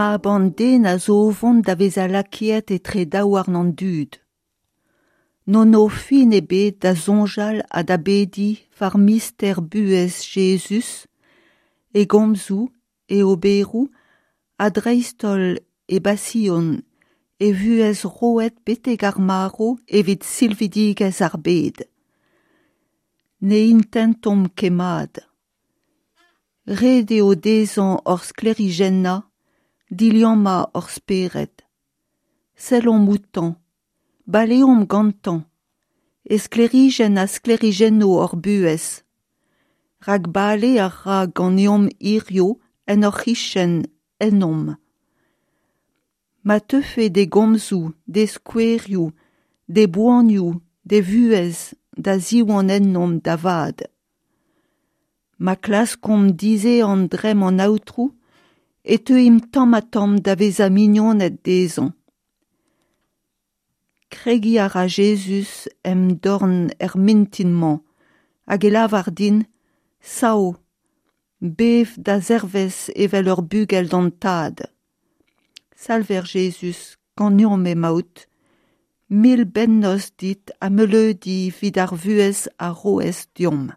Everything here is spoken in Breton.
Mab an den a zo o vont da vezañ lakaet etre daouarn an dud. N'hon o fin ebet da soñjal ha da bediñ war mister buhez Jezuz, e gomzoù, e oberoù ha dreist-holl e basion, e vuhez roet betek ar marv evit silvidigezh ar bed. Ne intentomp ket mat. Ret eo dezhañ hor sklêrijennañ, diliammañ hor spered. Sellomp outañ, baleomp gantañ, e sklêrijenn a sklêrijenno hor buhez. Rak bale a ra ganeomp hiziv en hor c'hichen, ennomp. Ma teufe d'e gomzoù, d'e skouerioù, d'e boanioù, d'e vuhez da ziwan ennomp da vat. Ma klaskomp dizehan dremm an Aotrou e teuimp tamm-ha-tamm da vezañ mignoned dezhañ. Kregiñ a ra Jezuz em dorn er mintin-mañ hag e lavar din Sav, bev da zerwezh evel ur bugel d'an Tad. Salver Jezuz, ganeomp emaout. Mil bennozh dit ha meuleudi evit ar vuhez a roez deomp.